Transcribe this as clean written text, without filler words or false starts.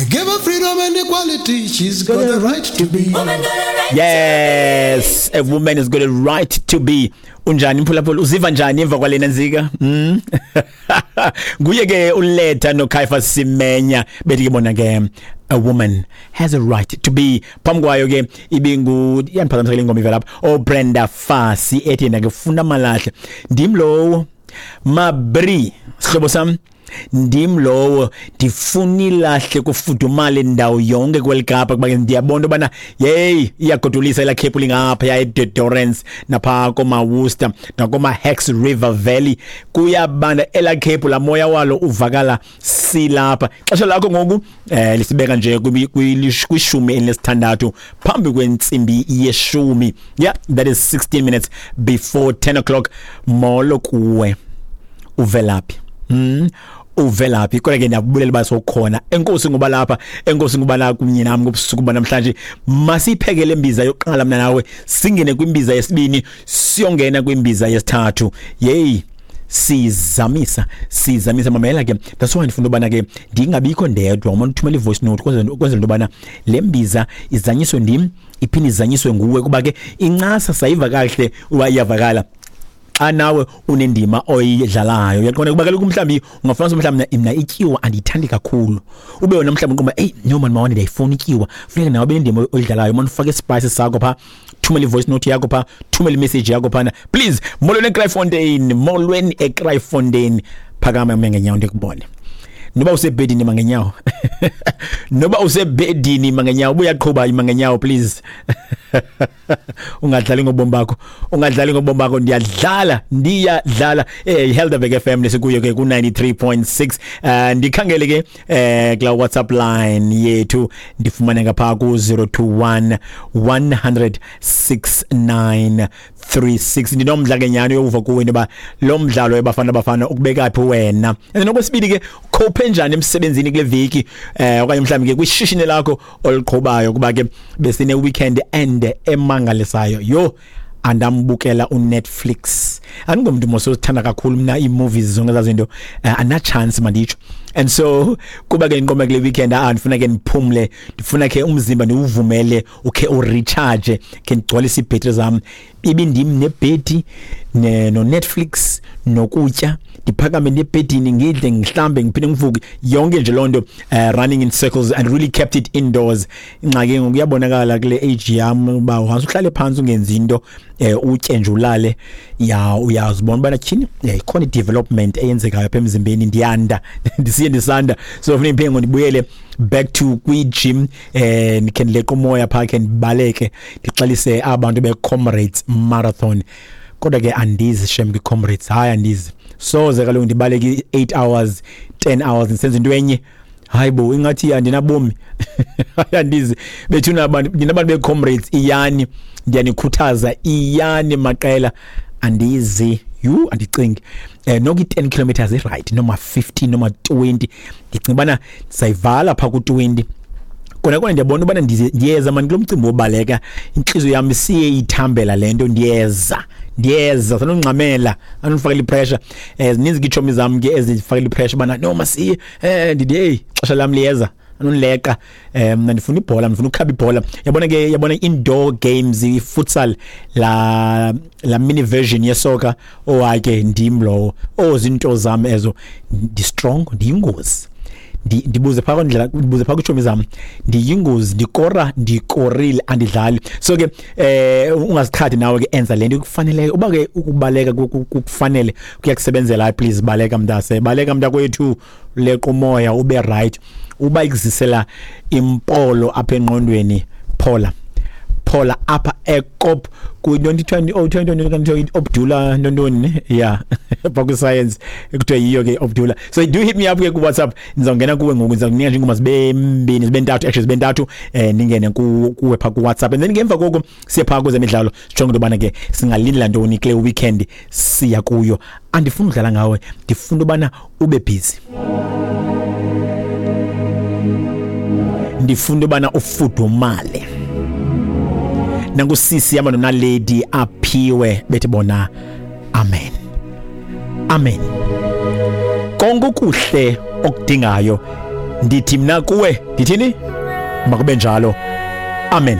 Give her freedom and equality. She's got the right to be. Yes, a woman has got a right to be. Unjani mphulaphula, uziva njani emva kwalena nzika? Nguye ke uLetha noCaiphus Semenya, bethi ke bona ke "A Woman Has a Right to Be". Phambi kwayo ke ibingu, iyandiphazamisa le ngoma ivela apha, oBrenda Fassie ethi yena ke "Funa Amalahle". Ndim lowo, mabri, sihlobo sam, ndim lowo ndifuna ilahle kufudumale indawo yonke kweli Kapa, kuba ke ndiyabona into yobana yeyi, iyagodolisa elaa khephu lingapha eDe Doorns naphaa koomaWorcester nakoomaHex River Valley. Kuyabanda elaa khephu, laa moya walo uvakala silapha. Xesha lakho ngoku lisibeka nje kwi-16 phambi kwentsimbi yeshumi. Yeah, that is 16 minutes before 10 o'clock. Molo kuwe, uvelaphi? Uvelaphi? Kodwa ke ndiyabulela uba sowukhona. Enkosi ngoba lapha, enkosi ngoba la kunye nami ngobusuku banamhlanje. Masiyiphekele imbiza yokuqala mna nawe, singene kwimbiza yesibini, siyongena kwimbiza yesithathu. Yeyi, sizamisa, sizamisa. Mamela ke, that's why ndifuna ubana ke ndingabikho ndedwa. Uma uthumela i-voice note kwenzela into yobana le mbiza izanyiswe ndim, iphinde izanyiswe nguwe, kuba ke incasa sayiva kakuhle uba iyavakala xa nawe unendima oyidlalayo. Uyaqonda? Kuba kaloku mhlawumbi ungafumanisa mhlawumbi mna ityiwa andiyithandi kakhulu, ube wena mhlawumbi uqomba, "Eyi no mani, mawane, ndiyayifuna ityiwa." Funeka nawe ube nendima oyidlalayo. Mani, ufake ispice sakho phaa, thumela i-voice note yakho phaa, thumela imessage yakho phana, please. Molweni eKraaifontein, molweni eKraaifontein. Phakama ume ngenyawo ndikubone. Noba usebhedini, ima ngenyawo. Noba usebhedini, ima ngenyawo. Ubuyaqhuba, ima ngenyawo, please. Ungadlali ngobomi bakho, ungadlali ngobomi bakho. Ndiyadlala, ndiyadlala. Helderberg FM lesikuyo ke ku 93.6. Ndikhangele ke kula WhatsApp line yethu, ndifumane ngapha ku 021 100 6936. Ndinomdla ke nyani yokuva kuwe into yoba lo mdlalo eBafana Bafana ukubeka phi wena. And okwesibili ke, cope njani emsebenzini kule viki okanye mhlawumbi ke kwishishini lakho oliqhubayo, kuba ke besine weekend ende emangalisayo. Yo, andambukela uNetflix. Andingomntu mos ozithanda kakhulu mna ii-movies, zonke ezaa zinto, andinachance manditsho. And so kuba ke ndiqoma kule weekend, ndifuna ke ndiphumle, ndifuna ke umzimba ndiwuvumele ukhe urecharge, khe ndigcwalise iibhetri zam. Ibindim nebhedi noNetflix nokutya, ndiphakame ndebhedini, ngidle, ngihlambe, ngiphinde ngivuke, yonke nje loo nto, running in circles, and really kept it indoors. Ingxaki ngoku kuyabonakala kule age yam uba once uhlale phantsi ungenzi into, utye nje ulale, ya, uyazibona ubana tyhini, ikhona i-development eyenzekayo apha emzimbeni, ndiyanda, ndisiye ndisanda. So funeka ndiphinde ngoku ndibuyele back to kwi-gym, ndikhe ndileqe umoya phaa, khe ndibaleke, ndixelise abantu be-Comrades Marathon. Kodwa ke andizi shem kwi-Comrades, hayi, andizi, soze kaloku ndibaleke i-8 hours, 10 hours ndisenza into enye. Hayi bo, ingathi andinabomi. Hayi, andizi bethuna abantu, nina abantu be-Comrades, iyani, ndiyanikhuthaza, iyani maqela. Andizi, yhu, andicingi noku i-10 kilometers i-right, noma 15 noma 20. Ndicinga ubana ndizayivala phaa ku-20. Kona kona ndiyabona ubana ndiyeza mani kulo mcimbi wobaleka, intliziyo yam siye ithambela le nto. Ndiyeza, ndiyeza, sanongxamela, anondifakela ipressure. Zininzi ke iitshomi zam ke ezifakela ipressure ubana no, masiye. Ndithi heyi, xesha lam liyeza, anondileqa. Mna ndifuna ibhola, ndifuna ukhaba ibhola. Yabona ke, yabona indoor games, i-futsal, la mini version yesoka. Oh hayi ke, ndim lowo. Oh, zinto zam ezo, ndi-strong, ndiyingozi. Ndibuze phaa kwindlela, ndibuze phaa kwiitshomi zam, ndiyingozi, ndikora, ndikorile, andidlali. So ke ungaziqhathi nawe ke, enza le nto ikufaneleyo. Uba ke ukubaleka kukufanele, kuyakusebenzela, hayi, please, baleka mntase, baleka mntakwethu, leqa umoya ube right. Uba ikuzisela impolo apha engqondweni, phola, phola apha eKop kwi-2020, oh, 2020, Obdula ntontoni ne, yeah, phaa kwi-science ekuthiwa yiyo ke Obdula. So do hit me up ke ku-WhatsApp. Ndizawungena kuwe ngoku, ndiza kunika nje iingoma zibe mbini, zibe ntathu, actually zibe ntathu, ndingene kuwe phaa ku-WhatsApp, and then ngemva koko siye phaa kwezemidlalo, sijonge into yobana ke singalindela ntoni kule weekend siya kuyo. Andifuni udlala ngawe, ndifuna ubana ube busy, ndifuna ubana ufudumale. Nankusisi yama nonaledi aphiwe, bethi bona amen, amen. Konke okuhle okudingayo Ndithi mna kuwe, ndithini? Makube njalo. Amen.